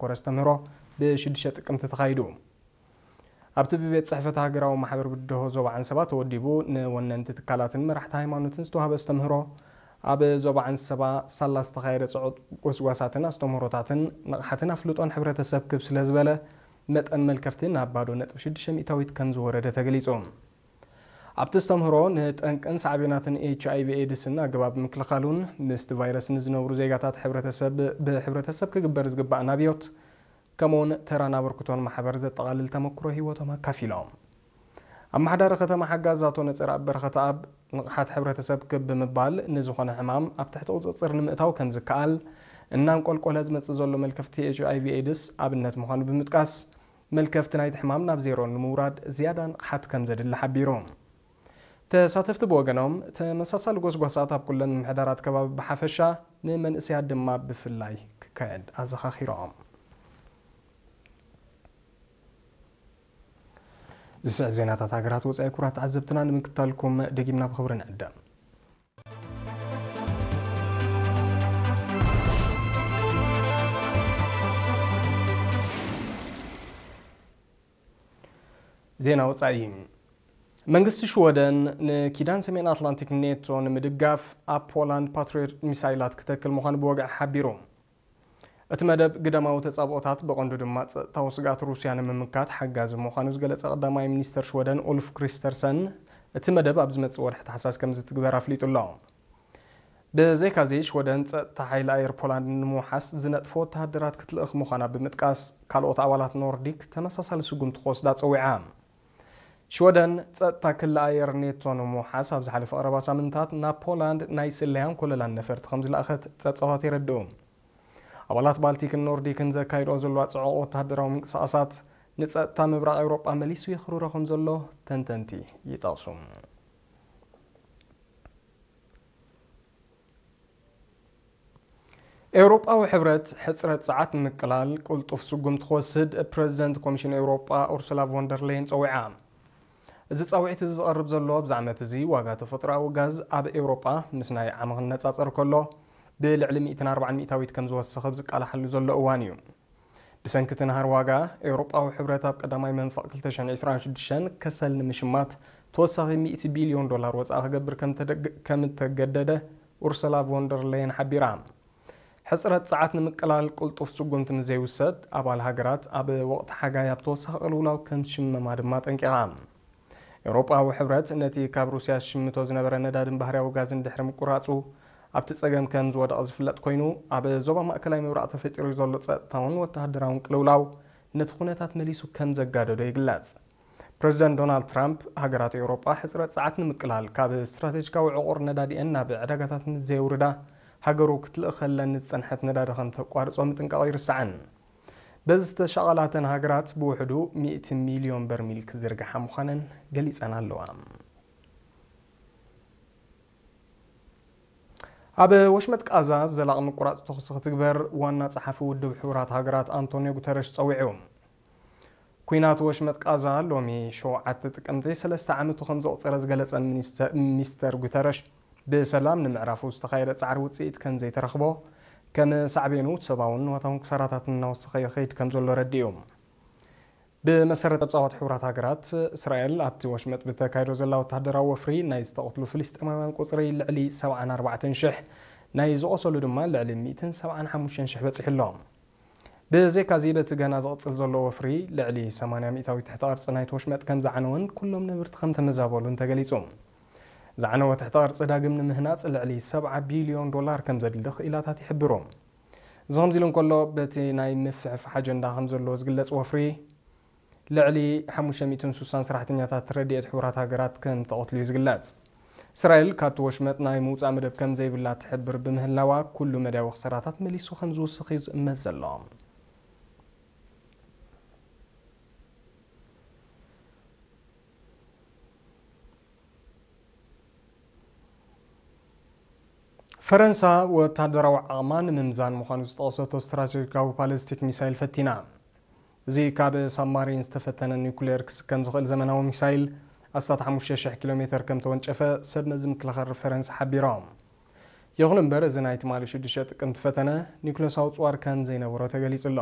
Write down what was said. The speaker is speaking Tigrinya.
ዘተኮረ ኣስተምህሮ ብ ሽዱሽተ ጥቅምቲ ተኻይዱ። ኣብቲ ብቤት ጽሕፈት ሃገራዊ ማሕበር ብድሆ ዞባ ዓንሰባ ተወዲቡ፣ ንወነንቲ ትካላትን መራሕቲ ሃይማኖትን ዝተዋህበ ኣስተምህሮ፣ ኣብ ዞባ ዓንሰባ ሳላ ዝተኻየደ ጽዑቕ ጎስጓሳትን ኣስተምህሮታትን ንቕሓትን ኣፍልጦን ሕብረተሰብ ክብ ስለ ዝበለ፣ መጠን መልከፍቲ ናብ ባዶ ነጥቢ ሽዱሽተ ሚእታዊት ከም ዝወረደ ተገሊጹ። ኣብቲ ኣስተምህሮ ንጠንቅን ሳዕቤናትን ኤች ኣይ ቪ ኤድስን ኣገባብ ምክልኻሉን ምስቲ ቫይረስ ንዝነብሩ ዜጋታት ሕብረተሰብ ብሕብረተሰብ ክግበር ዝግባእ ናብዮት፣ ከምኡውን ተራን ኣበርክቶን ማሕበር ዘጠቓልል ተመክሮ ህይወቶም ኣካፊሎም። ኣመሓዳሪ ከተማ ሓጋዝ ኣቶ ነጸረኣብ በረኸተኣብ፣ ንቕሓት ሕብረተሰብ ክብ ብምባል ንዝኾነ ሕማም ኣብ ትሕቲ ቁጽጽር ንምእታው ከም ዝከኣል፣ እናንቆልቆለ ዝመጽእ ዘሎ መልከፍቲ ኤች ኣይ ቪ ኤድስ ኣብነት ምዃኑ ብምጥቃስ፣ መልከፍቲ ናይቲ ሕማም ናብ ዜሮ ንምውራድ ዝያዳ ንቕሓት ከም ዘድሊ ሓቢሩ። ተሳተፍቲ ብወገኖም፣ ተመሳሳሊ ጎስጓሳት ኣብ ኩለን ምምሕዳራት ከባቢ ብሓፈሻ፣ ንመንእሰያት ድማ ብፍላይ ክካየድ ኣዘኻኺሮም። ዝስዕብ ዜናታት ሃገራት ወጻኢ ክቡራት ተዓዘብትና ንምክታልኩም ደጊምና ብኽብሪ ንዕደም። ዜና ወጻኢ። መንግስቲ ሽወደን ንኪዳን ሰሜን ኣትላንቲክ ኔቶ ንምድጋፍ ኣብ ፖላንድ ፓትሪዮት ሚሳይላት ክተክል ምዃኑ ብወግዒ ሓቢሩ። እቲ መደብ ግዳማዊ ተጻብኦታት ብቐንዱ ድማ ጸጥታዊ ስግኣት ሩስያ ንምምካት ሓጋዚ ምዃኑ ዝገለጸ ቀዳማይ ሚኒስተር ሽወደን ኡልፍ ክሪስተርሰን፣ እቲ መደብ ኣብ ዝመጽእ ወርሒ ታሕሳስ ከም ዝትግበር ኣፍሊጡ ኣሎ። ብዘይካዚ ሽወደን ጸጥታ ሓይሊ ኣየር ፖላንድ ንምውሓስ ዝነጥፎ ወተሃደራት ክትልእኽ ምዃና ብምጥቃስ፣ ካልኦት ኣባላት ኖርዲክ ተመሳሳሊ ስጉምቲ ክወስዳ ጸዊዓ። ሽወደን ጸጥታ ክሊ ኣየር ኔቶ ንምውሓስ ኣብ ዝሓለፈ ቀረባ ሳምንታት ናብ ፖላንድ ናይ ስለያን ኮለላን ነፈርቲ ከም ዝለኣኸት ጸብጻባት የረድኡ። ኣባላት ባልቲክን ኖርዲክን ዘካይድኦ ዘለዋ ጽዑቕ ወተሃደራዊ ምንቅስቓሳት ንጸጥታ ምብራቕ ኤውሮጳ መሊሱ የኽርሮ ከም ዘሎ ተንተንቲ ይጠቕሱ። ኤውሮጳዊ ሕብረት ሕጽረት ጸዓት ንምቅላል ቅልጡፍ ስጉምቲ ክወስድ ፕረዚደንት ኮሚሽን ኤውሮጳ ኡርሱላ ቮንደር ሌየን ጸዊዓ። እዚ ጻውዒት እዚ ዝቐርብ ዘሎ ኣብዚ ዓመት እዚ ዋጋ ተፈጥሮኣዊ ጋዝ ኣብ ኤውሮጳ ምስ ናይ ዓሚ ክነጻጸር ከሎ ብልዕሊ ሚእትን ኣርባዓን ሚእታዊት ከም ዝወሰኸ ኣብ ዝቃላሓሉ ዘሎ እዋን እዩ። ብሰንኪ እቲ ናህሪ ዋጋ፣ ኤውሮጳዊ ሕብረት ኣብ ቀዳማይ መንፈቕ ክልተ ሽሕን ዕስራን ሽዱሽተን ከሰል ንምሽማት ተወሳኺ ሚእቲ ቢልዮን ዶላር ወጻኢ ክገብር ከም ተደግ-፣ ከም እተገደደ ኡርሰላ ቮንደር ሌየን ሓቢራ። ሕጽረት ጸዓት ንምቅላል ቅልጡፍ ስጉምቲ ምስ ዘይውሰድ፣ ኣባል ሃገራት ኣብ ወቕቲ ሓጋይ ኣብ ተወሳኺ ቅልውላው ከም ዝሽመማ ድማ ኣጠንቂቓ። ኤውሮጳዊ ሕብረት ነቲ ካብ ሩስያ ዝሽምቶ ዝነበረ ነዳድን ባህርያዊ ጋዝን ድሕሪ ምቁራጹ፣ ኣብቲ ጸገም ከም ዝወደቐ ዝፍለጥ ኮይኑ፣ ኣብ ዞባ ማእከላይ ምብራቕ ተፈጢሩ ዘሎ ጸጥታውን ወተሃደራውን ቅልውላው ነቲ ኩነታት መሊሱ ከም ዘጋደዶ ይግለጽ። ፕረዚደንት ዶናልድ ትራምፕ፣ ሃገራት ኤውሮጳ ሕጽረት ጸዓት ንምቅላል ካብ ስትራቴጂካዊ ዕቑር ነዳዲኤን ናብ ዕዳጋታት ምስ ዘየውርዳ፣ ሃገሩ ክትልእኸለን ዝጸንሐት ነዳዲ ከም ተቋርጾ ምጥንቃቑ ኣይርሳዕን። በዚ ዝተሻቐላተን ሃገራት ብውሕዱ ሚእቲ ሚልዮን በርሚል ክዝርግሓ ምዃነን ገሊጸን ኣለዋ። ኣብ ወሽመጥ ቃዛ ዘላቒ ምቁራጽ ተኹሲ ክትግበር ዋና ጸሓፊ ውድብ ሕቡራት ሃገራት ኣንቶኒዮ ጉተረሽ ጸዊዑ። ኲናት ወሽመጥ ቃዛ ሎሚ ሸውዓተ ጥቅምቲ ሰለስተ ዓመቱ ከም ዘቑጸረ ዝገለጸ ሚኒስተር፣ ሚስተር ጉተረሽ፣ ብሰላም ንምዕራፉ ዝተኻየደ ጻዕሪ ውጽኢት ከም ዘይተረኽቦ፣ ከም ሳዕቤኑ ሰብኣውን ንዋታውን ክሳራታት እናወሰኸ ይኸይድ ከም ዘሎ ረዲኡ። ብመሰረት ጸብጻባት ሕቡራት ሃገራት፣ እስራኤል ኣብቲ ወሽመጥ ብተካይዶ ዘላ ወተሃደራዊ ወፍሪ ናይ ዝተቐትሉ ፍልስጤማውያን ቁጽሪ ልዕሊ ሰብዓን ኣርባዕተን ሽሕ፣ ናይ ዝቖሰሉ ድማ ልዕሊ ሚእትን ሰብዓን ሓሙሽተን ሽሕ በጺሑ ኣሎ። ብዘይካዚ፣ በቲ ገና ዝቕጽል ዘሎ ወፍሪ፣ ልዕሊ ሰማንያ ሚእታዊት ትሕተ ቅርጺ ናይቲ ወሽመጥ ከም ዝዓነወን ኩሎም ነበርቲ ከም ተመዛበሉን ተገሊጹ። ዝዓነወ ትሕተ ቅርጺ ዳግም ንምህናጽ ልዕሊ ሰብዓ ቢልዮን ዶላር ከም ዘድሊ ክኢላታት ይሕብሩ። እዚ ከምዚ ኢሉ እንከሎ፣ በቲ ናይ ምፍሕፋሕ ኣጀንዳ ከም ዘለዎ ዝግለጽ ወፍሪ፣ ልዕሊ ሓሙሽተ ሚእትን ስሳን ሰራሕተኛታት ረድኤት ሕቡራት ሃገራት ከም ተቐትሉ እዩ ዝግለጽ። እስራኤል ካብቲ ወሽመጥ ናይ ምውጻእ መደብ ከም ዘይብላ ትሕብር ብምህላዋ፣ ኩሉ መዳያዊ ክሳራታት መሊሱ ከም ዝውስኽ እዩ ዝእመት ዘሎ። ፈረንሳ ወታደራዊ ዓቕማ ንምምዛን ምዃኑ ዝጠቐሰቶ ስትራቴጂካዊ ባሊስቲክ ሚሳይል ፈቲና። እዚ ካብ ሳብማሪን ዝተፈተነ ኒውክሌር ክስከም ዝኽእል ዘመናዊ ሚሳይል ኣስታት ሓሙሽተ ሽሕ ኪሎ ሜተር ከም ተወንጨፈ ሰብ መዚ ምክልኻል ፈረንሳ ሓቢሮም። ይኹን እምበር፣ እዚ ናይ ትማሊ ሽዱሽተ ጥቅምቲ ፈተነ ኒውክሌሳዊ ጽዋር ከም ዘይነበሮ ተገሊጹ ኣሎ።